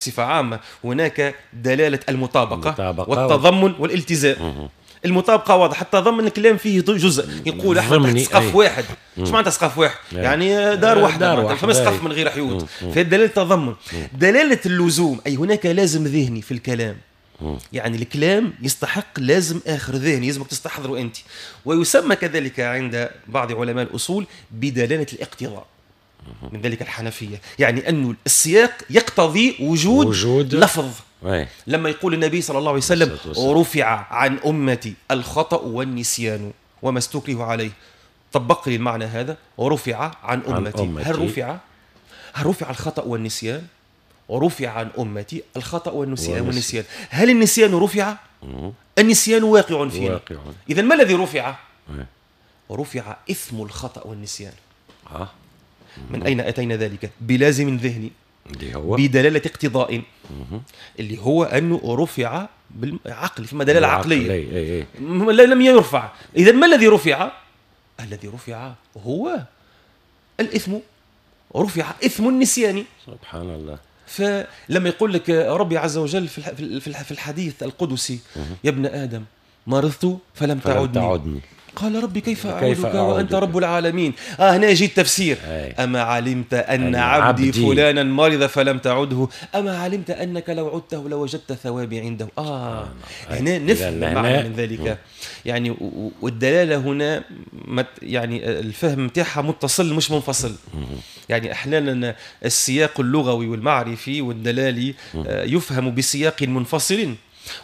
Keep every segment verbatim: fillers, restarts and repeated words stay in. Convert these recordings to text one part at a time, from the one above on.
بصفة عامة هناك دلالة المطابقة، المطابقة والتضمن والالتزام. المطابقة واضحة، التضمن الكلام فيه جزء يقول احنا تحت سقف واحد. ايش معناتها سقف واحد؟ يعني دار واحدة، فما سقف من غير حيوط. فدلالة التضمن. دلالة اللزوم، أي هناك لازم ذهني في الكلام. يعني الكلام يستحق لازم آخر ذهني، لازمك تستحضره أنت. ويسمى كذلك عند بعض علماء الأصول بدلالة الاقتضاء، من ذلك الحنفية، يعني أن السياق يقتضي وجود, وجود لفظ. أي. لما يقول النبي صلى الله عليه وسلم رفع عن أمتي الخطأ والنسيان وما استكره عليه، طبق لي المعنى هذا، رفع عن أمتي. عن أمتي. هل رفع هل رفع الخطأ والنسيان؟ رفع عن أمتي الخطأ والنسيان, والنسيان. هل النسيان رفع؟ مم. النسيان واقع فينا. إذا ما الذي رفع؟ أي. رفع إثم الخطأ والنسيان. آه. من أين أتينا ذلك؟ بلازم ذهني اللي هو بدلالة اقتضاء، اللي هو أنه رفع بالعقل، فما دلالة عقلية. أي أي. لم يرفع. إذا ما الذي رفع؟ الذي رفع هو الإثم، رفع إثم النسيان. سبحان الله. فلما يقول لك ربي عز وجل في الحديث القدسي يا ابن آدم مرضت فلم تعدني, تعدني. قال ربي كيف أعودك, كيف وأنت رب العالمين. آه هنا يجي التفسير. أي. أما علمت أن عبدي, عبدي فلانا مرض فلم تعده، أما علمت أنك لو عدته لوجدت ثوابي عنده. آه هنا نفهم المعنى من ذلك. يعني والدلالة هنا يعني الفهم تاعها متصل مش منفصل. يعني أحيانا السياق اللغوي والمعرفي والدلالي يفهم بسياق منفصل،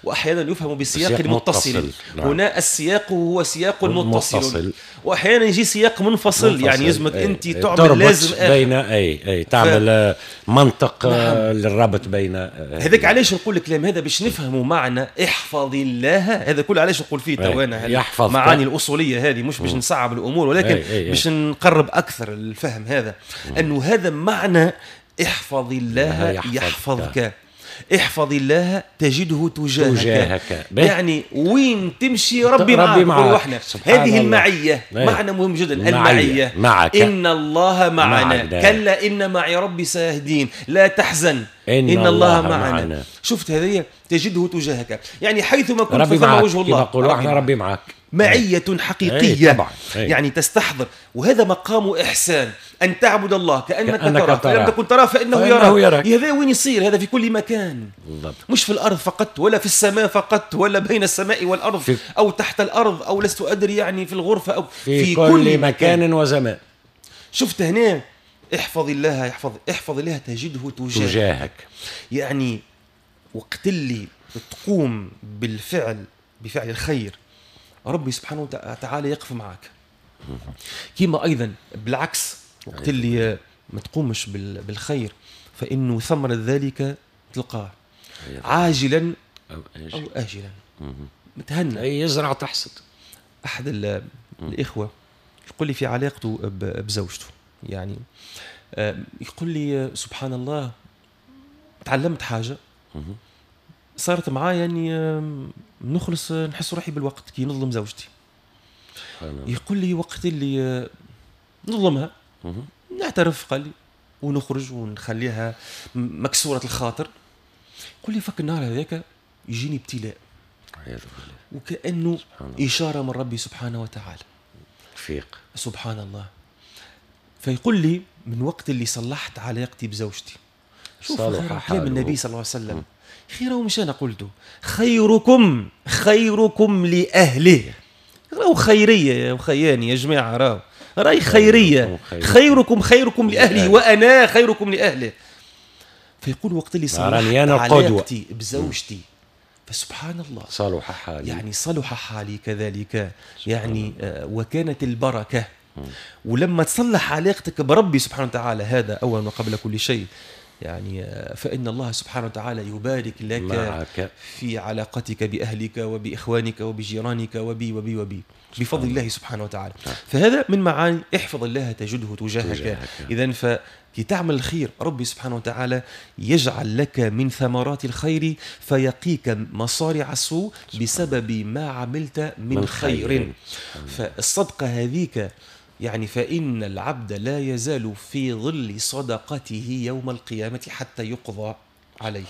واحيانا يفهم بسياق متصل. متصل. نعم. هنا السياق هو سياق متصل, متصل. واحيانا يجي سياق منفصل, منفصل. يعني يلزمك انت تعمل لازم بين اي اي تعمل ف... منطق. نعم. للربط بين هذاك. علاش نقول الكلام هذا؟ باش نفهموا معنى احفظ الله. هذا كله علاش نقول فيه توانا المعاني الاصولية هذه، مش باش نصعب الامور، ولكن باش نقرب اكثر الفهم هذا. مم. انه هذا معنى احفظ الله يحفظك, يحفظك. احفظ الله تجده تجاهك, تجاهك. يعني وين تمشي ربي معك. معك. هذه المعية معنى مهم جدا، المعية معك. إن الله معنا, معنا. كلا إن معي ربي سيهدين، لا تحزن إن, إن الله, الله معنا. معنا. شفت هذه تجده تجاهك، يعني حيثما كنت فثم وجه الله. ربي معك، ربي معك، معية حقيقية. طبعا. يعني تستحضر، وهذا مقام إحسان، أن تعبد الله كأنك, كأنك تراه، فإن لم تكن تراه فإنه يراك. هذا وين يصير؟ هذا في كل مكان. بالضبط. مش في الأرض فقط، ولا في السماء فقط، ولا بين السماء والأرض، في أو تحت الأرض، أو لست أدري يعني في الغرفة، أو في, في كل, كل مكان, مكان وزمان. شفت هنا احفظ الله يحفظ، احفظ الله تجده تجاهك, تجاهك. يعني وقت اللي تقوم بالفعل بفعل الخير ربي سبحانه وتعالى يقف معك. كما أيضا بالعكس وقت اللي ما تقومش بالخير فإنه ثمرة ذلك تلقاه عاجلا أو آجلا. متهنى. أي يزرع تحصد. أحد الإخوة يقول لي في علاقته بزوجته، يعني يقول لي سبحان الله تعلمت حاجة صارت معايا، يعني نخلص نحس روحي بالوقت كي نظلم زوجتي. يقول لي وقت اللي نظلمها نعترف، قال لي، ونخرج ونخليها مكسورة الخاطر. يقول لي فك النهار هذاك يجيني ابتلاء، وكأنه إشارة من ربي سبحانه وتعالى، فيق سبحان الله. فيقول لي من وقت اللي صلحت علاقتي بزوجتي، شوف كلام النبي صلى الله عليه وسلم، خيره مش أنا قلته، خيركم خيركم لأهله. راهو خيرية يا وخياني يا جماعة، راهو راهي خيرية، خيركم خيركم لأهله وأنا خيركم لأهله. فيقول وقت اللي صلحت علاقتي بزوجتي فسبحان الله صلح حالي، يعني صلح حالي كذلك، يعني وكانت البركة. ولما تصلح علاقتك بربي سبحانه وتعالى، هذا أولا وقبل كل شيء، يعني فإن الله سبحانه وتعالى يبارك لك معك في علاقتك بأهلك وبإخوانك وبجيرانك وبي وبي وبي بفضل الله سبحانه وتعالى. فهذا من معاني احفظ الله تجده تجاهك. إذن فكي تعمل الخير ربي سبحانه وتعالى يجعل لك من ثمرات الخير فيقيك مصارع السوء بسبب ما عملت من, من خير, خير. فالصدقة هذيك يعني فإن العبد لا يزال في ظل صدقته يوم القيامة حتى يقضى. عليه.